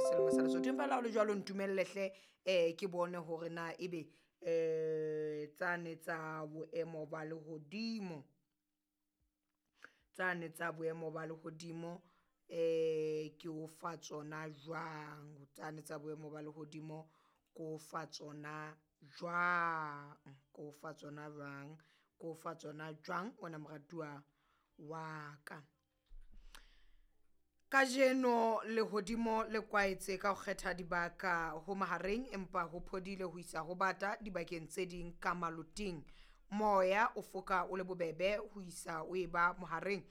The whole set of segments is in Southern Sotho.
Selemo sa Lesotho. Empa le ha ho le jwalo, ntumellehle ke bone hore na ebe tsane tsa boemo ba lehodimo, tsane tsa boemo ba lehodimo ke o fa tsona jwang, tsane tsa boemo ba lehodimo ke o fa tsona jwang, ke o fa tsona jwang, ke o fa tsona jwang wena moratuwa wa ka. Kajeno lehodimo le kwaetse ka ho kgetha dibaka ho mahareng, empa ho phodile ho isa ho bata dibakeng tse ding ka maloting. Moya o foka o le bobebe ho isa o e ba mohareng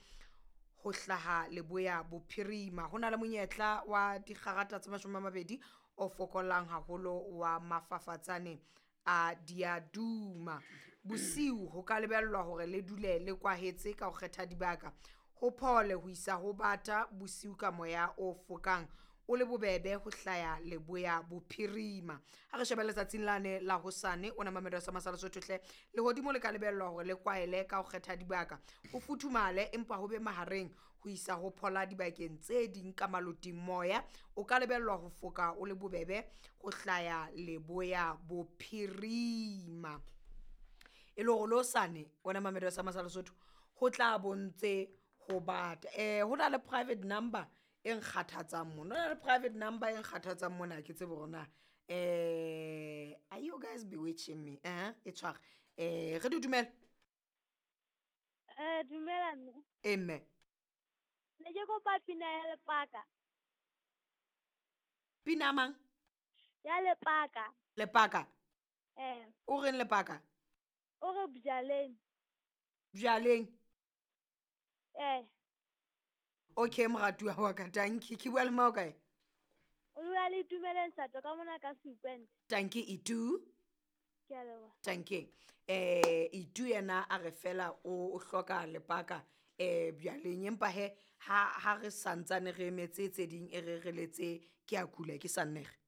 ho hlaha leboya bophirima. Ho na le monyetla wa dikgarata tse 20 o fokolang haholo wa mafafatsane a diaduma. Bosiu ho ka lebellwa hore le dule le kwahetse ka ho kgetha dibaka, ho phole ho isa ho bata bosiu ka moya o fokang o le bobebe ho hlaya leboya bophirima. Ha re shebe letsatsing lane la hosane, o na mamedo sa masala Sotho hle, lehodimo le ka lebellwa hore le kwaele ka ho kgetha dibaka, ho futhumale empa ho be mahareng ho isa ho phola dibakeng tse ding ka maloting. Moya o ka lebellwa ho foka o le bobebe ho hlaya leboya bophirima. E le hore le hosane wena mamedo sa masala Sotho ho tla bontse ho bata. Ho na le private number e nkgathatsang mona, ho na le private number e nkgathatsang mona, ha ke tsebe hore na are you guys bewitching me? E tshware re di dumela. Dumela mme. E mme. Ne ke kopa pina ya Lepaka. Pina mang? Ya Lepaka. Lepaka? Eh. O reng Lepaka? O re bjaleng. Bjaleng? Eh. Okay, moratuwa wa ka, tanki. Ke bua le mang o kae? O bua le Itumeleng Sato ka mona ka Sekwente. Tanki Itu. Ke a leboha. Tanki. Itu yena a re fela o hloka Lepaka bjaleng, empa he ha re santsane re emetse tse ding e re re letse ke a kula ke sa nnege.